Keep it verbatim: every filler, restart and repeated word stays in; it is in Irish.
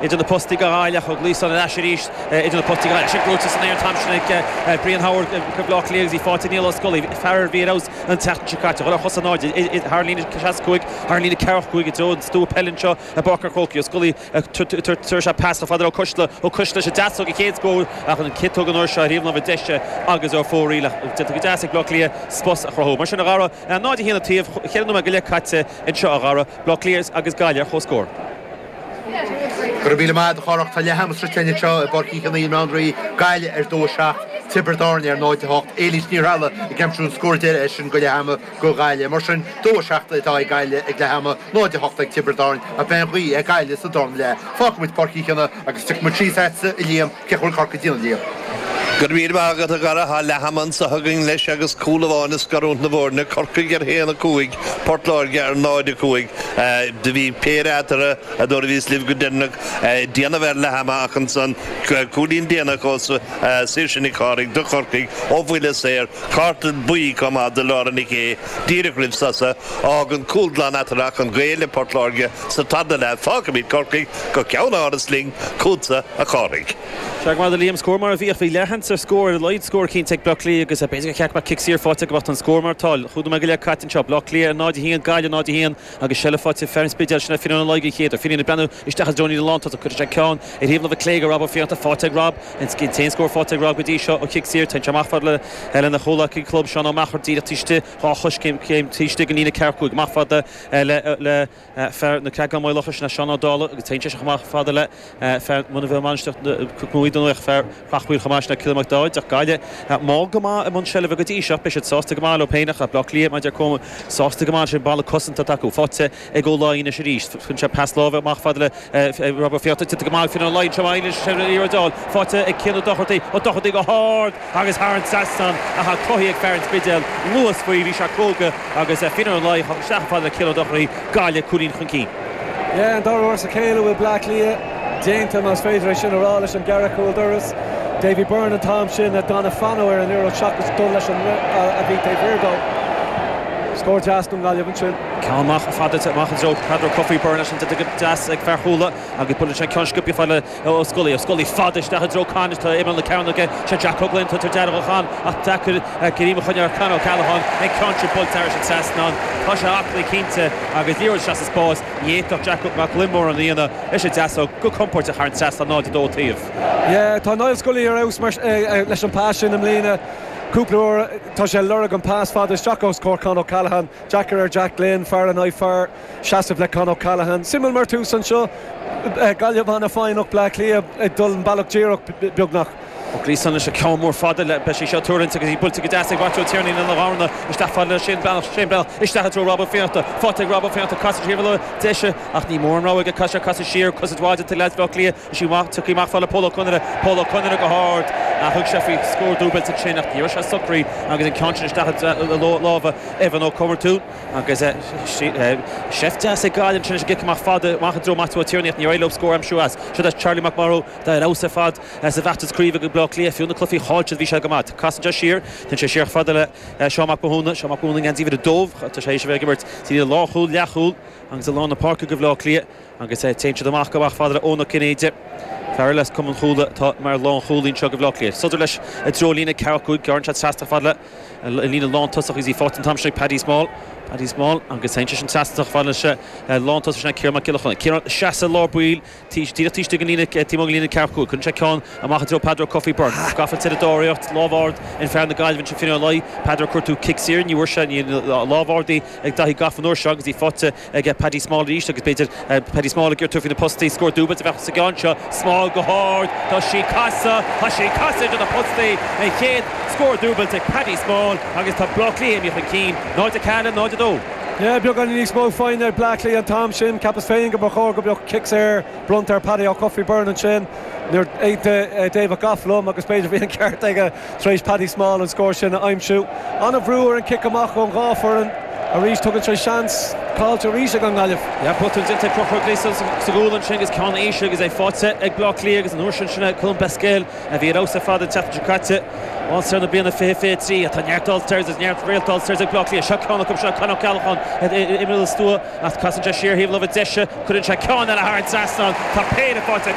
Idir na postaí do Ghaillimh, Ó Gliasáin ar ais arís idir na postaí do Ghaillimh. Sin gnóite san aer an t-am sin ag Brian Howard do Bhleá Cliath agus í faighte ag Niall Ó Scolaí, fear a bhí ar fheabhas an tseachtain seo caite. Dhul ar chosa in airde thar an líne seasca cúig, thar an líne ceathracha cúig i dtreo an stua peile anseo i bPáirc an Chrócaigh. Ó Scolaí tabharfaidh sé pas chomh fada le Ó Coisle, Ó Coisle leis an deasóg an chéad scór ach an chiotóg an uair seo ar thaobh na láimhe deise agus ar fóraoil ach déanta go deas ag Bleá Cliath spás a chruthú. Mar sin a Dhara, náid a haon an taobh, cheithre nóiméad go leith caite anseo a Dhara, Bleá Cliath agus Gaillimh ar comhscór. Go raibh míle maith agat a Chárthach. Tá leath ama sroichte anseo i bPáirc Uí Chionnaith i mBaile Átha an Rí, Gaillimh ar dó a seacht, Tiobraid Árann ar náid a hocht, Éilís Ní Threallaigh ag aimsiú an scór deiridh eisean go leath ama go Ghaillimh. Mar sin, dó a seacht atá ag Gaillimh ag leath ama, náid a hocht ag Tiobraid Árann ach beidh an ghaoth ag Gaillimh sa darna leath. Fágfaidh muid Páirc Uí Chionnaith agus tiocfaidh muid síos agatsa a Liam, cén chaoi a bhfuil Corcaigh ag déanamh Liam? Go raibh míle maith agat a Dhara, tá leath ama anseo againn leis agus cúl amháin ag scarúint na bhfoirne, Corcaigh ar haon a cúig, Port Láirge ar náid a cúig. Do bhí péire eatarthu nuair a bhíos libh go deireanach ag déanamh ar leath ama ach ansan cúilín déanach ó Saoirse Nic Chárthaigh do Chorcaigh ó bhuille saor, cárta buí chomh maith do Laura Nic Aodha díreach roimh sosa. Fhágann cúl glan eatarthu ach an gaol le Port Láirge sa tarna leath. Fágfaimid Corcaigh go ceann Áras linn chugatsa a Chárthaigh. Sea, go maith a Liam, scór mar a bhíodh, bhí leathsheans ar scór, ar a laghad scór cinnte ag Bleá Cliath agus b'fhéidir gur cheart go mbeadh cic saor faighte go mbeadh an scór mar atá. Chúig nóiméad go leith caite anseo, Bleá Cliath ar náid a haon, Gaillimh náid a haon agus seilbh faighte ag fear an Spidéil, sin é Finian Ó Laoi den chéad uair. Finian ag breathnú isteach i dtreo an líne lántosach, cuireann sé ceann ar thaobh na láimhe clé go Rob Ó Fiannachta, faighte ag Rob, an t-aon scór faighte ag Rob go dtí seo ó chic saor, téann sé amach fad le lena chomhleacaí club Seán Ó Meachair díreach taobh istigh, dhá choiscéim taobh istigh den líne ceathracha cúig, amach fada le le fear na Creagán Maigh Locha, sin é Seán Ó Dálaigh agus téann sé amach fada le fear muna bhfuil mainistir Cnoc Mhuire fear Chreachmhaoil chomh maith sin é Cillian Mac Dáid ach Gaillimh mall go maith i mbun seilbhe go dtí seo beidh siad sásta go maith leo féin ach Bleá Cliath maidir chomh sásta go maith sin balla cosanta atá acu faighte ag Ó Laighin anois arís chun sé pas láimhe amach fada le Rob Ó Fiannachta tite go maith Finian Ó Laighin seo maith leis faighte ag Cian Ó Dochartaigh Ó Dochartaigh go hard agus thar an trasnán ach cruthaithe ag fear an Spidéil luas faoi bhí sé cróga agus Finian Ó Laighin isteach fada le Cian Ó Dochartaigh Gaillimh cúilín chun cinn. Yeah, an dara huair as a chéile bhfuil Bleá Cliath déanta más féidir é sin a rá leis an gceithre chúl doras. Davy Byrne an t-am sin a d'fhan fanacht ar an liathróid seachas dul leis an a bhí taobh thiar dó. Scór deas don Ghaillimh ansin. Ceann amach fada amach an treo Peadar Ó Cofaigh Byrne leis an deas ag fear Chuala agus buaileann sé ceann sciobtha fada le Ó Scolaí. Ó Scolaí fada isteach i dtreo Con tá imeall na cearnóige sé Jack Ó Gloinn tá dearg Con ach deacair greim a choinneáil ar Con O'Callaghan an ceann sin buailte thar an trasnán. Tá sé aclaí cinnte agus liathróid isteach sa spás ní fhéadfadh Jack Mac Gloinn mórán a dhéanamh leis an deasóg go compordach thar an trasnán náid a dó taobh. Yeah, tá Niall Scully ar fheabhas mar leis an pas sin i mbliana. Cúpla uair tá sé lorg an pas fada isteach os comhair Con O'Callaghan, deacair ar Jack Glynn, fear in aghaidh fear seasamh le Con O'Callaghan. Suimiúil mar tús anseo Gaillimh an-fhoighneach Bleá Cliath ag dul an bealach díreach beagnach. Ó Gliasáin leis an ceann mór fada le beidh sé seo tuartha agus í buailte go deas ag Maitiú Ó Tiarnaigh ina dharna isteach fada le Shane Breathnach Shane Breathnach isteach i dtreo Rob Ó Fiannachta faighte ag Rob Ó Fiannachta casadh siar le deise ach ní mór an rogha aige casadh casadh siar cosaint mhaith de leaids Bhaile Átha Cliath is í amach tiocfaidh amach fada le Pól Ó Conaire Pól Ó Conaire go hard ach thug sé faoi scór dúbailte ansin ach ní raibh sé socraithe agus an ceann sin isteach i lámha Evan Ó Comartún agus seift deas ag Gaillimh ansin is an cic amach fada amach i dtreo Maitiú Ó Tiarnaigh ach ní raibh leo scór aimsiú as seo é Charlie McMorrow tá ar fheabhas ar fad sa bhfeachtas craoibhe go Bleá Cliath fiú na cluichí chaillte bhí sé go maith casann sé siar Tá sé siar fada le Seán Mac Mathúna Seán Mac Mathúna gan díobh a dóibh tá sé éis a bheith ag imirt sa lánchúl leathchúl agus i lár na páirce go Bleá Cliath agus téann siad amach go amach fada le Eoin Ó Cinnéide Fear eile as Cumann Chuala atá mar lánchúlaí anseo go Bleá Cliath. Sodar leis i dtreo líne ceathracha cúig gearrann sé trasna fada le líne lántosach agus í faighte an t-am sin ag Paddy Small. Paddy Small agus téann sé sin trasna fada leis lántosach sin Ciarán Mac Giolla Chóill. Ciarán seasamh lár baill díreach taobh istigh den líne taobh amuigh den líne ceathracha cúig. Cuireann sé ceann amach i dtreo Peadar Ó Cofaigh Byrne. Gafa ar an dáiríocht lámh ard in fear na Gaillimhe sin Finian Ó Laoi. Peadar cuartú cic saor ní bhfuair sé ní lámh ard ag Daithí Gafa an uair seo agus í faighte ag Paddy Small arís agus b'fhéidir Paddy Small ag iarraidh faoi na postaí scór dúbailte a bheadh sa gceann seo Small go hard Tá sí casadh Tá sí casadh idir na postaí an chéad scór dúbailte ag Paddy Small agus tá Bleá Cliath imithe chun cinn náid a ceathair náid a dó. Yeah, beagán níos mó foighne ag Bleá Cliath an t-am sin, ceapas féin go mba chóir go mbeadh cic saor bronnta ar Paddy Ó Cofaigh Byrne ansin nuair aontaigh David Gough liom agus b'fhéidir bhí an ceart aige tar éis Paddy Small an scór sin a aimsiú. An-bhrú ar an cic amach ón dhá fhoireann Arís tugann sé seans caillte arís ag an nGaillimh. Ja botún déanta ag Conchúr Gleeson sa gcúl ansin agus ceann íseal agus é faighte ag Bleá Cliath agus an uair sin sin Colm Basquel a bhí ar fheabhas ar fad an tseachtain seo caite. All-Star na bliana fiche fiche trí atá neart All-Stars is neart réalt All-Stars ag Bleá Cliath. Seo ceann acu seo Con O'Callaghan imeall stua ach casann sé siar thaobh láimhe deise cuireann sé ceann eile thar an trasnán tá péire faighte